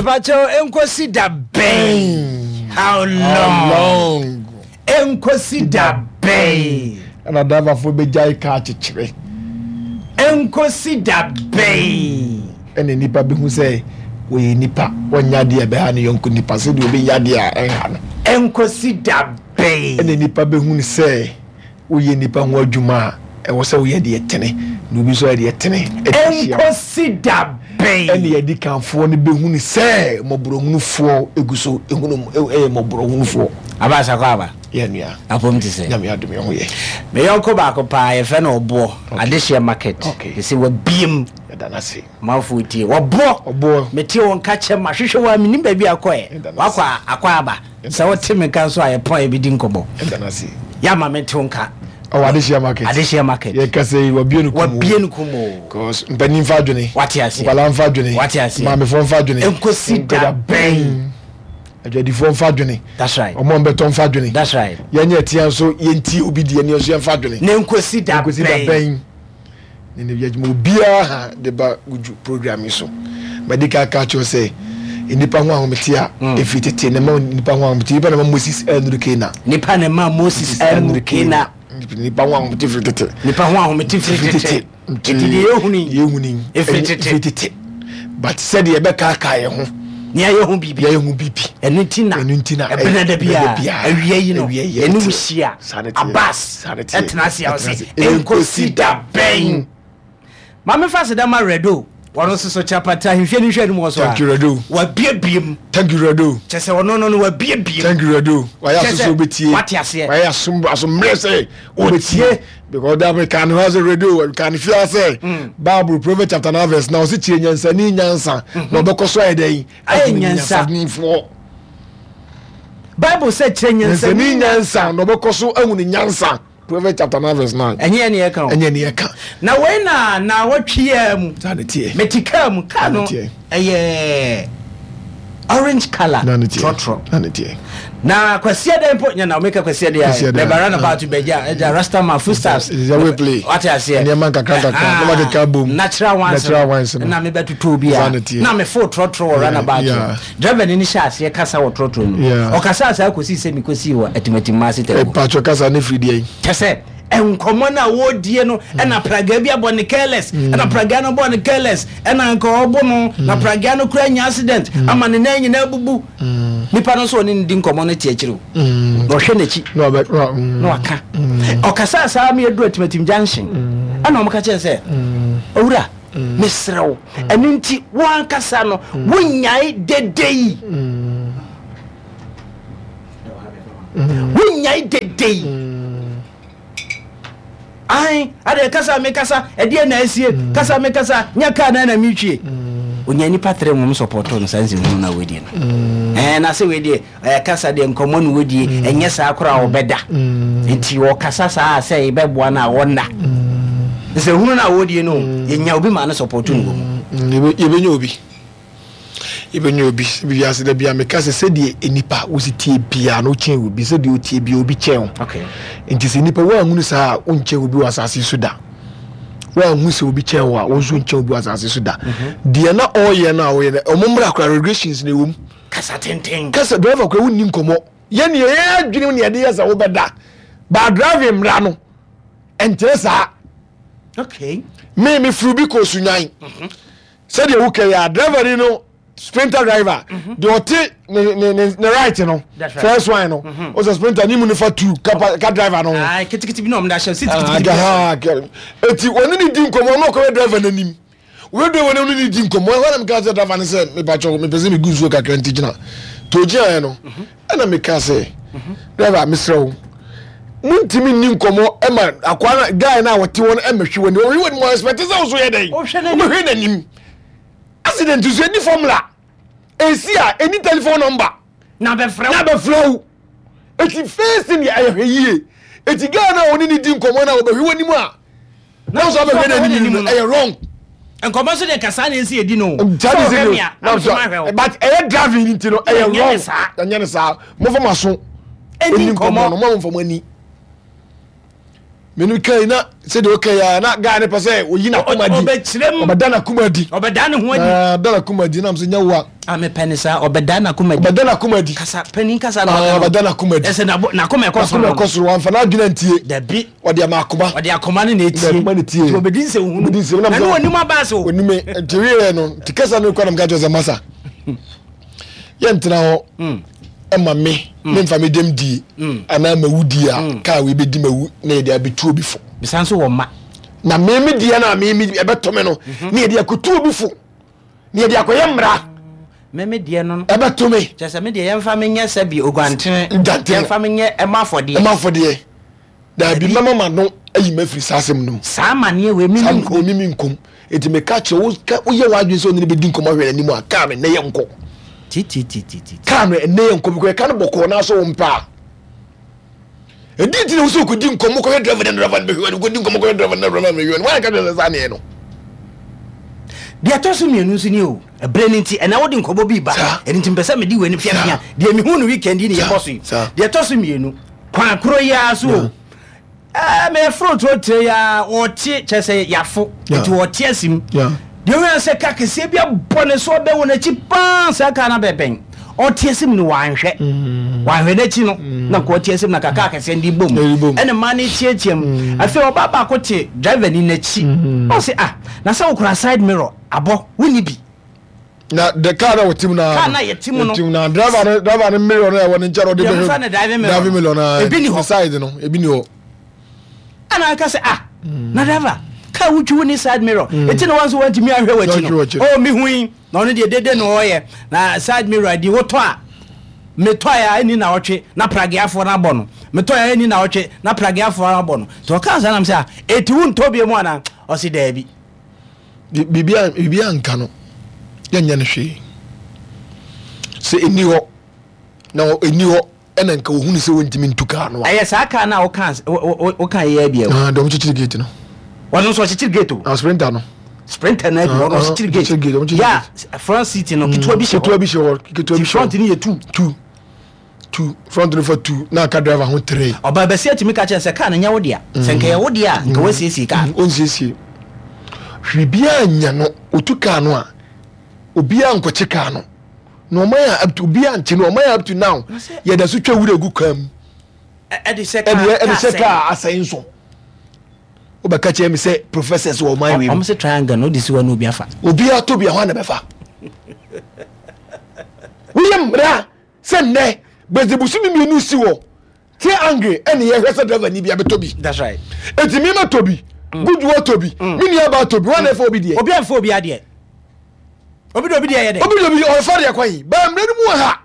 Mepakyɛw enkosi da bɛn? How How long? long? Enkosi da bɛn? Ɛna driverfoɔ bɛgyae kaa kyekyere. Enkosi da bɛn? Ɛna nnipa bɛhu sɛ wɔyɛ nnipa, wɔnyɛ adeɛ a ɛbɛha ne yɔnko nipa sɛdeɛ ɔbɛyɛ adeɛ a ɛnha no. Enkosi da bɛn? Ɛna nnipa bɛhu no sɛ woyɛ nnipa ho adwuma a, ɛwɔ sɛ woyɛ deɛ ɛtene, na obi nso ayɛ deɛ ɛtene de ahyia wo. Ɛnkɔsi da bɛn? Ɛnna adikanfoɔ no bɛhunu sɛ mmɔborɔhunufoɔ gu so hunu yɛ mmɔborɔhunufoɔ. Aba Asako aba. Yɛ nua. Apom te sɛ. Nyame adom yɛ ho yɛ. Me yɔnko baako paa yɛfrɛ no Ɔboɔ. Okay. Adehyeɛ market. Okay. Sese wabiem. Yɛda no ase. Manfoɔ tie. Ɔboɔ. Ɔboɔ. Mete wo nka kyɛ mahwehwɛ wo a menim baabi a akɔɛ. Yɛda no ase. Wakɔ a akɔ aba. Sɛ wote me nka nso a yɛpɔn a yɛbɛdi nkɔmmɔ. Yɛda no ase. Yɛ ama mente wo nka. Ɔwɔ Adehyeɛ market. Adehyeɛ market. Yɛkasa yi wabue no kumoo. Wabue no kumoo. Cause mpanin mfa adwene. Wate aseɛ. Nkwadaa mfa adwene. Wate aseɛ. Maamefoɔ mfa adwene. Nkosi da bɛn. Adwadifoɔ mfa adwene. That's right. Ɔmo a ɔmbɛtɔ mfa adwene. That's right. Yɛnyɛ ɛtea nso yɛntie obi deɛ ne yɛn nso yɛmfa adwene. Ne nkosi da bɛn. Nkosi da bɛn. Ne ne yɛdwuma obiara ha de ba wudwu program yi so. Madi kan aka akyerɛ sɛ nnipa ho ahomete a mm. ɛfiri tete na ma nnipa ho ahomete nnipa na ma Moses anuru Kena. Nnipa na ma Moses anuru Kena. Nnipa ho ahomete firi tete. Nnipa ho ahomete firi tete. Nti deɛ yɛhuni yɛhuni ɛfiri tete. Ɛfiri tete. But sɛdeɛ yɛbɛkaakaa yɛn ho. Nea yɛhu biribi. Nea yɛhu biribi. Ɛno nti na. Ɛno nti na. Ɛbena da biara. Awia yi no. Yɛne wo hyia. Abbas. Ɛtena ase a ɔse. Ɛnkosi da bɛn. Maame fa aseda ma Redo. Wɔn nso so kyapata ahemfie no nhwɛ anim wɔ so a. Thank you Redo. Wabiebie mu. Thank you Redo. Kyɛ sɛ ɔno no no wabiebie mu. Thank you Redo. Wayɛ aso sɛ obetie. Wate aseɛ. Wayɛ aso aso mmerɛ sɛ obetie. Because that we can have a radio, can fear say mm. Bible Proverbs chapter 9 verse now see kyerɛ nyansani nyansa mm-hmm. na ɔbɛkɔ so ayɛ dɛn ayɛ nyansanifoɔ. Bible sɛ kyerɛ nyansani nyansa na ɔbɛkɔ so ahu ne nyansa. Proverbs chapter 9 verse 9. Ɛnyɛ ne ɛka o. Ɛnyɛ ne ɛka. Na wei na na wɔtwe yɛ mu. Saa ne teɛ. Mete kaa mu kaa no ɛyɛ orange colour. Na ne teɛ. Trɔtrɔ. Na ne teɛ. Na kwasia dɛ mpo nyɛ na omeka kwasia dɛ ayɛ bɛba round about bɛgya ɛgya rasta man foodstuffs. Ɛsɛ we play. Wate aseɛ. Nneɛma nkakra nkakra na ma keka bom. Natural ones. Natural ones no. Na mebɛtotɔ obi a. Na mefo trɔtrɔ wɔ round about. Driver ni no hyɛ aseɛ kasa wɔ trɔtrɔ no mu. Ɔkasaa saa kɔsii sɛ mekɔsii wɔ Atimatim ase tɛm. Mpakyɛ kasa no firi deɛn? Kyɛ sɛ nkɔmmɔ no a wɔredie no ɛna pragaa bi abɔ ne careless ɛna pragaa no bɔ ne careless ɛna nka ɔbo no na pragaa no kura nya accident ama ne nan nyinaa bubu. Nipa no nso ɔne no di nkɔmmɔ no te akyiri o. Na ɔhwɛ n'akyi na waka. Ɔkasaa saa ma yɛduru Atimatim junction ɛna wɔka kyerɛ sɛ owura Mesrɛ wo, ɛno nti wo ankasa no wonyae dede yi. Wonyae dede yi. Ae, adeɛ kasa me kasa, ɛdeɛ na asie, kasa me kasa, nya kaa na na metwie. Onya nipa tere wɔn sɔpɔtɔ no saa nsɛmhunu na wɔadie no. Ɛɛ na sɛ wei deɛ Ɛɛ kasa deɛ nkɔmmɔ na wɔdie, ɛnyɛ saa koraa a ɔbɛda. Nti ɔkasa saa a sɛ yɛbɛboa no a ɔnna. Nsɛhunu no a wɔdie no, yɛnya obi ma no sɔpɔto no wɔ mu. Yɛbɛnya obi. Yɛbɛnya obi. Sɛ wiase da bia meka sɛ sɛdeɛ nipa wosi tie biara no wokyɛn obi, sɛdeɛ wotie biara obi kyɛn wo. Nti sɛ nipa woanhunu saa a wonkyɛn obi wɔ asase so da. Woanhu sɛ obi kyɛn wo a wo nso nkyɛn obi wɔ asase so da. Deɛ na ɔreyɛ no a ɔyɛ no, ɔmo mmra koraa regulations na ɛwɔ mu. Kasa tenten. Kasa driver kura wonni nkɔmɔ. Yɛ nea yɛn adwene mu nea yɛde yɛ sɛ wobɛda. Ba driving mmara no ɛnkyerɛ saa. Okay. Me me furu bi kɔ Sunyan. Mhm. Sɛdeɛ wokɛ yɛ a driver ni no sprinter driver mhm. deɛ ɔte ne ne ne ne right no first one no mhm. ɔsɛ sprinter ne mu nifa two ka ka driver no ho. Ketekete bi na ɔmo da hyɛ seat ketekete bi. Eti wɔne ne di nkɔmɔ ɔno ɔkɔyɛ driver n'anim. Wei deɛ wɔne no di nkɔmmɔ ɛhɔ na meka sɛ driver no sɛ mepakyɛw mepɛ sɛ megu nsuo kakra nti gyina nti ɔgyinaeɛ no ɛna meka sɛ driver mesrɛ wo montumi nni nkɔmmɔ ɛma akoa no guy no a wɔte hɔ no ɛmɛhwe w'anim ɔhwe w'anim ɔ expect sɛ wo so yɛ dɛn wobɛhwɛ n'anim accident so ɛdi formula ɛsi a ɛni telephone number na bɛfrɛ na bɛfrɛ wo ɛti first thing yɛ ɛyɛ hwɛ yie ɛti guy no a wɔne ne di nkɔmmɔ no a wɔbɛhwe w'anim a na nso abɛhwɛ n'anim no ɛyɛ wrong. Nkɔmɔ nso deɛ kasa na esi edi no. Sɛ ɔhwɛ mi a, na nso ma hwɛ o. But ɛyɛ driving ni ti no ɛyɛ wrong. Ɛnyɛ ne saa. Mo fɔ ma so. Ɛni nkɔmɔ no mo fɔ mo ani. Menu kai na sɛdeɛ ɔka yi a na guy no pɛ sɛ ɔyi n'akoma di. Ɔbɛkyerɛ mu. Ɔbɛda n'akoma di. Ɔbɛda ne ho adi. Na da n'akoma di nam sɛ nyɛ wo a. A mepɛ ne saa ɔbɛda n'akoma di. Ɔbɛda n'akoma di. Kasa panin kasa na ɔka no. Ɔbɛda n'akoma di. Ɛsɛ n'akoma ɛkɔ soro. N'akoma ɛkɔ soro wamfa n'adwene antie. Dabi. Ɔde ama akoma. Ɔde akoma no na etie. Akoma na etie. Nti ɔbɛdi nsɛm hunu. Ɔbɛdi nsɛm na ne onim abaase o. Onim nti wieɛ no nti kasa no kɔ na meka kyerɛ sɛ masa. Yɛntena hɔ. Mm. Ɛma me mm. memfa me dɛm die mm. anaa mawu die a mm. kaa wei bɛdi mawu na yɛde abɛtu obi fo. Bisa nso wɔ mma. Na me me deɛ no a me me ɛbɛtɔ me no mhm. na yɛde akɔtu obi fo na yɛde akɔyɛ mmara. Me me deɛ no. Ɛbɛto me. Kyerɛ sɛ me deɛ yɛmfa me nyɛ sɛ bi oguantene. Dantene. Yɛmfa me nyɛ ɛma afɔdeɛ. Ɛma afɔdeɛ. Daabi mɛma m'ano ayi m'afiri saa asɛm no mu. Saa amaneɛ wei mimi nkom. Mimi nkom. Enti meka kyerɛ wo ka woyɛ w'adwene sɛ ɔne no bɛdi nkɔmmɔ ahwɛ n'anim a kaa no ɛnɛ yɛ nkɔ. Tititititi. Kaa no ɛnɛ yɛ nkɔ because ɛka no bɔkɔɔ na so wo mpɛ a. Ɛdi nti na wo sɛ wokɔdi nkɔmmɔ kɔhwɛ driver na driver no bɛhwɛ w'anim kɔdi nkɔmmɔ kɔhwɛ driver na driver no bɛhwɛ w'anim. Wɔn ka kyerɛ sɛ saa neɛ no. Deɛ ɛtɔ so mmienu nso ni o, ɛberɛ no nti ɛnɛ wode nkɔmmɔ bi ba, ɛno nti mpɛ sɛ mede w'ani fiafia deɛ mehu no weekend yi ne yɛbɔ so yi. Deɛ ɛtɔ so mmienu, kwan koro yi ara so o, ɛɛ mɛforo turo tire yi ara wɔte kyerɛ sɛ yafo nti wɔte asim. Deɛ woyɛ sɛ ka kɛseɛ bi abɔ ne so ɔbɛ wɔ n'akyi paa saa kaa no abɛbɛn ɔte asim no wanhwɛ mm. wanhwɛ n'akyi no mm. na nka ɔte asim na kaka kɛseɛ no de bom ɛna mmaa no teatea mu mm. afei ɔbaa baako te driver ni n'akyi ɔse ah na sɛ wokura side mirror abɔ wonni bi na the car na wɔte mu na car na yɛte mu no yɛte mu na driver no driver no mirror no ɛwɔ ne nkyɛn ɔde bɛhwɛ ne driving mirror driving mirror na ebi ni hɔ side no ebi ni hɔ ɛna aka sɛ ah mm. na driver car wotwi wo ne side mirror mm. eti na wɔn nso wɔntumi ahwɛ w'akyi no oh mi hu yi na ɔno deɛ dede na ɔyɛ na side mirror di wotɔ a metɔ a ɛni na ɔtwe na prageafoɔ no abɔ no metɔ a ɛni na ɔtwe na prageafoɔ no abɔ no nti ɔka saa nam sɛ a eti wo ntɔ bi mu ana ɔsi daabi. Biribi anka no, yɛnyɛ no hwee. Sɛ ɛni hɔ, na ɛni hɔ ɛna nka ohunu sɛ wɔntumi ntu kaa no a. Ɛyɛ saa kaa no a woka woka yɛ bi ɛwɔ. Ah, dɔm kyekyere gate no. Wɔn nso ɔkyekyere gate o. Ah, sprinter no. Sprinter no bi wɔn ɔkyekyere gate. Ya front seat no ketewa bi hyɛ hɔ. Ketewa bi hyɛ hɔ. Ketewa bi hyɛ hɔ. Front no yɛ two. Two. Two front no fa two na aka driver ho three. Ɔbaa basia tumi ka kyerɛ sɛ kaa no nyɛ wo dea. Sɛ nka ɛyɛ wo dea a, nka woasiesie kaa no. Ɔnsiesie. Hwee biara nnya no. Ɔtu kaa no a, obiara nkɔkye kaa no. Na ɔman a up to obiara nkye no. Ɔman a up to now yɛda so twa wura gu kaa mu. Ɛde hyɛ kaa ɛde hyɛ kaa asɛe nso. Wobɛka kyerɛ me sɛ professors wɔ ɔman wei mu. Wɔn se triangle no wode si hɔ na obi afa. Obiara tɔ bi a hwan na bɛfa? Woyɛ mmara sɛ nnɛ bɛdze bosome mmienu si hɔ te angry ɛne yɛhwɛ sɛ driver ni bi abɛtɔ bi. That's right. Eti mi ma tɔ bi, mm. Gudu atɔ bi, mm. mi nua ba atɔ bi, wɔn na ɛfɛ obi deɛ. Obi anfa obi adeɛ. Obi de obi deɛ yɛ dɛ. Obi de obi ɔfa deɛ kwan yi, bɛn mmerɛ no mu wɔ ha.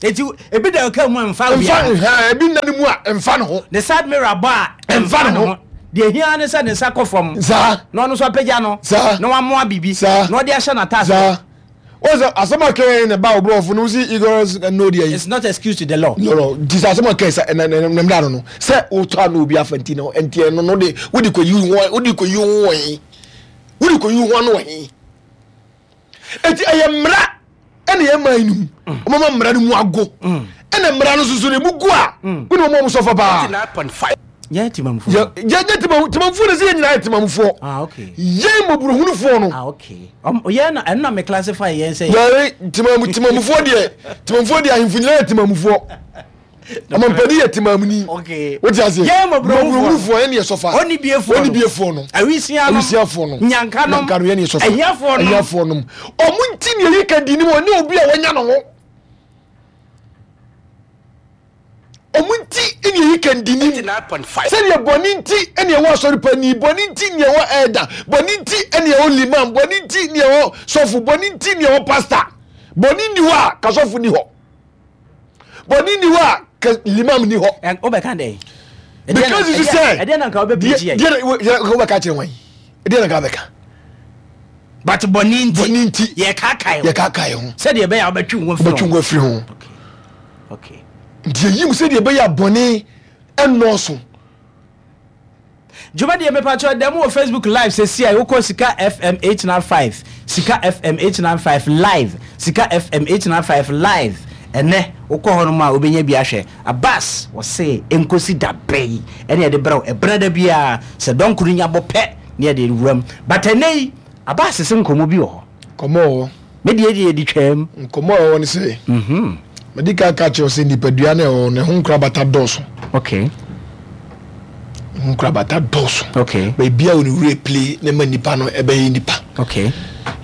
Eti ebi da ɔka mu a nfa obi a. Nfa ebi nna ne mu a nfa ne ho. Ne side mirror bɔ a nfa ne ho. Deɛ ehia ne sɛ ne nsa kɔ fam. Saa. Na ɔno nso apagya no. Saa. Na wamoa biribi. Saa. Na ɔde ahyɛ n'ataase. Saa. Wọ́n sɛ asɛm a kɛn na ba oborɔfo no si ignorance and no deɛ yi. It's not excuse to the law. No no nti sɛ asɛm a kɛn sɛ ɛna ɛna ɛna no no sɛ wotɔ ano obi afa nti no nti ɛno no de wode kɔ yi ho wode kɔ yi ho wɔ he wode kɔ yi ho ano wɔ he eti ɛyɛ mmara ɛna yɛ man no mu wɔn ma mmara no mu ago ɛna mmara no soso no emu gu a wɔn na wɔn sɔfɔ paa. Yɛn temamufoɔ. Yɛ yɛ temamufoɔ na sɛ yɛn nyinaa yɛ temamufoɔ. Ah okay. Yɛn mmɔborɔhunufoɔ no. Ah okay. Yɛn na ɛno na me classify yɛn sɛ. Yɛn temamu temamufoɔ deɛ temamufoɔ deɛ ahemfo nyinaa yɛ temamufoɔ. Ɔmampanin yɛ temamuni. Okay. Wote aseɛ? Yɛn mmɔborɔhunufoɔ yɛn yɛ sɔfa. Onibiefoɔ no. Onibiefoɔ no. Awisia nom. Awisiafoɔ no. Nyanka nom. Nyanka no yɛn yɛ sɔfa. Ahiafoɔ nom. Ahiafoɔ nom. Ɔmo nti na eyi ka di ni mu ɔne obi a wɔnya ne ho. Ɔmo nti na eyi ka di ni mu. Sɛdeɛ bɔne nti na ɛwɔ asɔre panin, bɔne nti na ɛwɔ ɛɛda, bɔne nti na ɛwɔ limam, bɔne nti na ɛwɔ sɔfo, bɔne nti na ɛwɔ pasta. Bɔne nni hɔ a ka sɔfo ni hɔ. Bɔne nni hɔ a ka limam ni hɔ. Wobɛka dɛn? Because you sɛ ɛdeɛ na nka wobɛpirikyi yɛ. Deɛ wobɛka kyerɛ wɔn. Ɛdeɛ na nka wobɛka. But bɔne nti. Bɔne nti. Yɛkaakae ho. Yɛkaakae ho. Sɛdeɛ ɛbɛyɛ a wobɛtwe wo ho afiri ho. Wobɛtwe wo ho afiri ho. Okay. Okay. Nti yɛyi mu sɛdeɛ ɛbɛyɛ a bɔne ɛnnɔɔso. Dwumadie mepakyɛw dɛm wɔ Facebook live sɛsi a wokɔ Sika FM 895 Sika FM 895 live Sika FM 895 live. Ɛnnɛ wokɔ hɔnom a wobɛnya bi ahwɛ. Abbas wɔse ɛnkɔsi da bɛn ɛne yɛde brɛ wo ɛberɛ da biara sɛ dɔnko no nya bɔ pɛ ne yɛde wuram. But ɛnnɛ yi Abbas se nkɔmmɔ bi wɔ hɔ. Nkɔmmɔ wɔ hɔ. Me deɛ deɛ yɛde twaam. Nkɔmmɔ a ɛwɔ hɔ ne sɛ, madi kan aka akyerɛ wo sɛ nipadua no a ɛwɔ hɔ no, ɛho nkorabata dɔɔso. Okay. Ɛho nkorabata dɔɔso. Okay. Baabi a wɔn werɛ pile na ɛma nipa no ɛbɛyɛ nipa. Okay.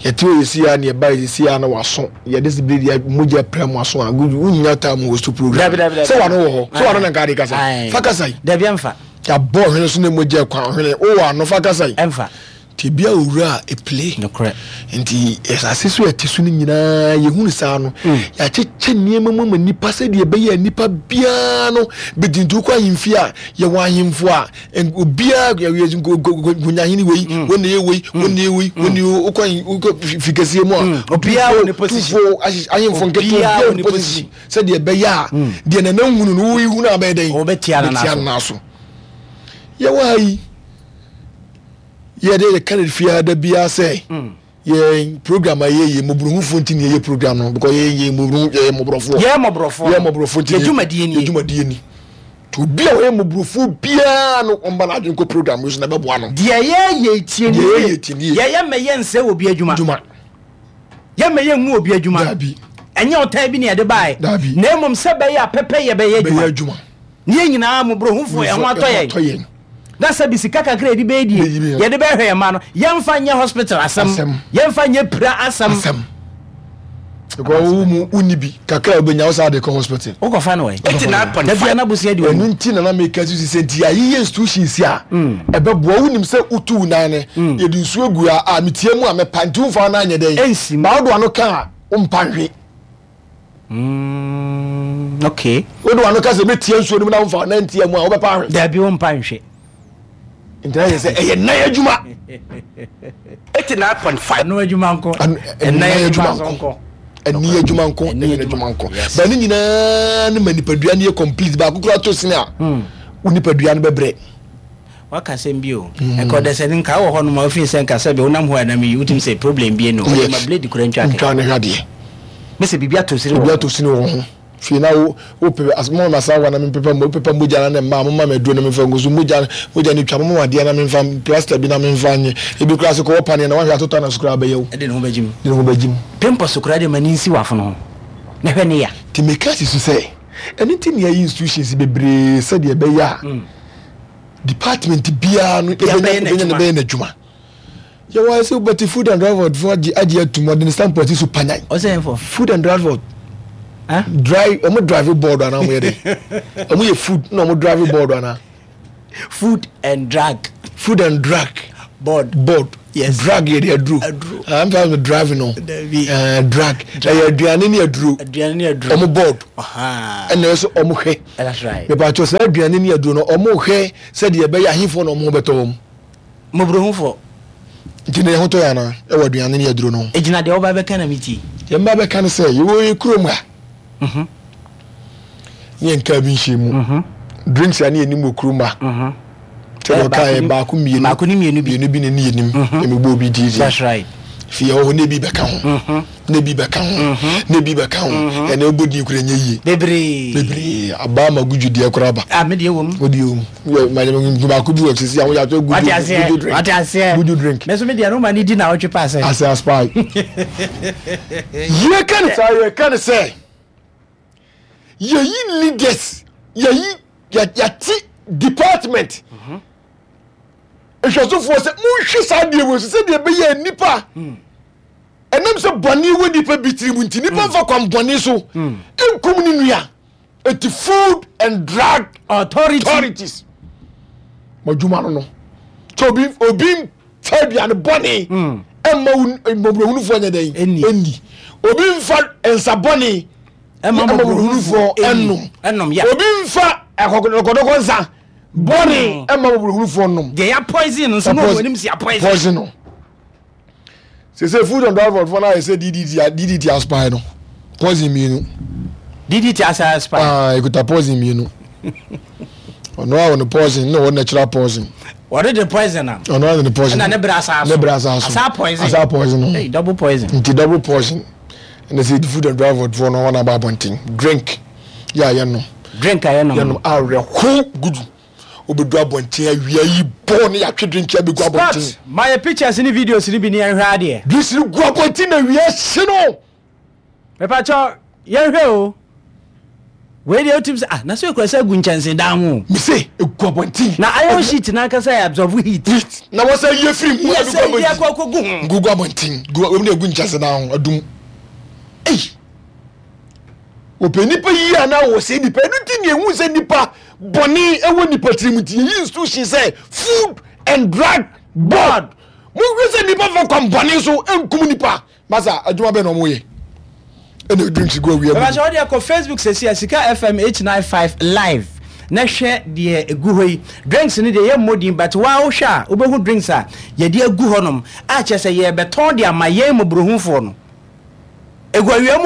Yɛte hɔ yɛsi ha na yɛba yɛsi ha na waso yɛde sɛ bere deɛ mogya pira mu aso a wonya time wɔ so program. Dabi dabi dabi. Sɛ wano wɔ hɔ sɛ wano na nka ade kasa. Fa kasa yi. Dabi ɛnfa. Yɛabɔ ɔhwene so na mogya kwan ɔhwene wowɔ ano fa kasa yi. Ɛnfa. Tebea owura a epue. Nokorɛ. Nti asase so a ɛte so no nyinaa yɛhunu saa no, mm. yɛakyekyɛ nneɛma mu ama nnipa sɛdeɛ ɛbɛyɛ a nnipa biara no bɛdi. Nti wokɔ ahemfie a, yɛwɔ ahemfo a obiara nkonyahene wei, mm. wɔn na yɛ wei, wɔn na yɛ wei, wɔn na yɛ wokɔ wokɔ fi kɛseɛ mu a, obiara wɔ ne position, ahemfo nketewa obiara wɔ ne position sɛdeɛ ɛbɛyɛ a deɛ nana hunu no woyi hunu a bɛyɛ dɛn? Wɔbɛtia no n'aso. Yɛwɔ ha yi. Yɛ deɛ yɛka no fiaa da biara sɛ mm. yɛn program a yɛyɛ mmɔborɔhufoɔ nti na yɛyɛ program no because yɛyɛ yɛ mmɔborɔhu yɛyɛ mmɔborɔfoɔ yɛ mmɔborɔfoɔ yɛ mmɔborɔfoɔ nti yɛ dwumadie ni yɛ dwumadie ni to obi a ɔyɛ mmɔborɔfoɔ biara no ɔmba n'adwene kɔ program yi so na ɛbɛboa no. Deɛ yɛyɛ tie ni deɛ yɛyɛ tie ni yɛyɛ mɛyɛ nsɛ wɔ obi adwuma dwuma yɛ mɛyɛ ngu obi adwuma daabi ɛnyɛ ɔtan bi na yɛde baeɛ daabi na mmom sɛ bɛyɛ a pɛpɛ yɛ bɛyɛ adwuma ne yɛn nyinaa mmɔborɔhufoɔ yɛn ho atɔ yɛn. Na sɛ bi sika kakra yɛde bɛyɛ die yɛde bɛhwɛ yɛn mma no, yɛmfa nyɛ hospital asɛm, yɛmfa nyɛ pira asɛm. Because wo mu wonni bi kakra a wobɛnya wo saa de kɔ hospital. Wokɔfa no ɛ. Da bia na bosea di w'anim. Ɛno nti na na meka so sɛ nti yɛayeyɛ institutions a mm. ɛbɛboa wonim sɛ wotu wo nan no mm. yɛde nsuo agu a a metia mu a mɛpa nti womfa wo nan nyɛ dɛn ɛnsim ba wode wano ka a wompa nhwe. Mm, okay. Wode wano ka sɛ mɛtia nsuo no mu na womfa nan ntia mu a wobɛpa ahwe. Dabi wompa nhwe. Nti na yɛ sɛ ɛyɛ nan adwuma. 89.5. Ɛno adwuma nko. Ɛnan adwuma nko. Ɛni adwuma nko. Ɛni adwuma nko. Ba ne nyinaa ne ma nipadua no yɛ complete baako kura to sene a. Hmm. Wo nipadua no bɛbrɛ. Waka asɛm bi o. Ɛka ɔdasani nka wɔ hɔ nom a wofii sɛ nka sɛbe wonam hɔ a nam yi wotumi sɛ problem bi enu hɔ. Ma blade kura ntwa kɛ. Ntwa ne hwɛ adeɛ. Mese biribi atɔ sini wɔ ho. Biribi atɔ sini wɔ ho. Fie na wo wo pepe as mo ma saa wa na me pepa mo pepa mogya na ne mma mo ma me aduro na me fa ngu so mogya mogya ne twa mo ma adeɛ na me nfa plaster bi na me nfa nye ebi kura se kɔwɔ paneɛ na wahwɛ atotɔ na so kura abɛyɛ wo. Ɛde ne ho bɛgye mu. De ne ho bɛgye mu. Pimples kura de ma ne nsi w'afono ho na hwɛ ne ya. Ti meka si so sɛ ɛno nti na yɛayi institutions bebree sɛdeɛ ɛbɛyɛ a department biara no bɛyɛ n'adwuma yɛwɔ ayɛ sɛ wobɛte food and drug board fo agye agye atum ɔde ne stamp asi so panyan food and drug board dry ɔmo drive board anaa ɔmo yɛ dɛ ɔmo yɛ food na ɔmo drive board anaa food and drug food and drug board board yes drug yɛ de aduro aduro ah n fa drive no dabi drug ɛyɛ aduane ne aduro aduane ne aduro ɔmo board ɛna ɛsɛ ɔmo hwɛ that's right mepatwɔ saa aduane ne aduro no ɔmo hwɛ sɛdeɛ ɛbɛyɛ ahefoɔ na ɔmo ho bɛtɔ wɔn mmɔborɔhufoɔ nti na yɛn ho tɔ yɛn anaa ɛwɔ aduane ne aduro no ho egyina deɛ ɔba bɛka na mi tie deɛ mba bɛka ne sɛ yɛwɔ yɛ kurom ha mhm. ne yɛn kaa bi nhyɛ mu mhm. drinks a ne yɛnim wɔ kurom ha mhm. sɛ ɔka yɛ baako mmienu baako ne mmienu bi mmienu bi na ne yɛnim ɛmi bɔ obi di that's right fi yɛ hɔ ne bi bɛka ho ne bi bɛka ho ne bi bɛka ho ɛna ɛbɔ din kura nyɛ yie bebree bebree abaa ma guju deɛ kora ba ah me deɛ wɔ mu o deɛ wɔ mu yɛ ma yɛ baako bi wɔ sisi ahoyɛ atɔ guju guju drink wate aseɛ guju drink mɛ so me deɛ no ma ne di na ɔtwe pa asɛ asɛ aspae yɛ ka ne saa yɛ ka ne sɛ yɛyi leaders yɛyi yɛte department nhwɛsofoɔ sɛ monhwɛ saa deɛ wɔ so sɛdeɛ ɛbɛyɛ nnipa ɛnam sɛ bɔne wɔ nnipa bi tiri mu nti nnipa mfa kwan bɔne so nkum ne nua. Eti food and drug authorities mo adwuma no no sɛ obi obi nfa aduane bɔne ɛmma wo mmɔborɔhunufoɔ nyɛ dɛn ɛnni obi nfa nsa bɔne ɛmma mmɔborɔhunufoɔ ɛnnom obi nfa ɛkɔdɔkɔdɔkɔ nsa bɔne ɛmma mmɔborɔhunufoɔ nnom deɛ ya poison no nso na wɔn anim si poison poison no. Sese food and drug board fo na ayɛ sɛ DDT DDT aspire no poison mmienu. DDT asa aspire. Ah ekuta poison mmienu. Ɔno a ɔno poison na ɔwɔ natural poison. Wɔde de poison am. Ɔno a ne poison. Ɛna ne bere asa aso. Ne bere asa aso. Asa poison. Asa poison no. Hey, double poison. Nti double poison. Ɛna sɛ food and drug board no wɔn aba abɔnten, drink yɛ a yɛnom. Drink a yɛnom. Yɛnom awerɛho gudu. Wobɛdu abɔnten awia yi bɔɔ ne yɛatwe drink abɛgu abɔnten. Scott, ma yɛ pictures ne videos no bi ne yɛnhwɛ adeɛ. Drinks no gu abɔnten na awia hye no. Mepakyɛ yɛnhwɛ o. Wei deɛ wotim sɛ ah na sɛ ekura sɛ egu nkyɛnse dan ho. Mese egu abɔnten. Na iron sheet n'ankasa yɛ absorb heat. Heat na wɔsɛ yie firi mu. Yɛ sɛ yie akɔ akɔ gu ho. Gugu abɔnten gu wɔn de egu nkyɛnse dan ho adum. Ei wɔpɛ nipa yie anaa wɔsɛ nipa? Ɛno ti ni ehu sɛ nipa bɔne ɛwɔ nipa tirim, nti yɛyi institution sɛ Food and Drug Board. Mo hwɛ sɛ nipa fa kwan bɔne so nkum nipa. Masa, adwuma bɛn na ɔmo yɛ ɛna drinks gu awia mu? Bɛbɛhyɛ wɔde akɔ Facebook sɛsi a, Sika FM 895 live, na hwɛ deɛ egu hɔ yi. Drinks no deɛ, yɛ mmɔ din, but waa wohwɛ a wobɛhu drinks a yɛde agu hɔnom a kyerɛ sɛ yɛrebɛtɔn de ama yɛn mmɔborɔhufoɔ no. Egu awia mu.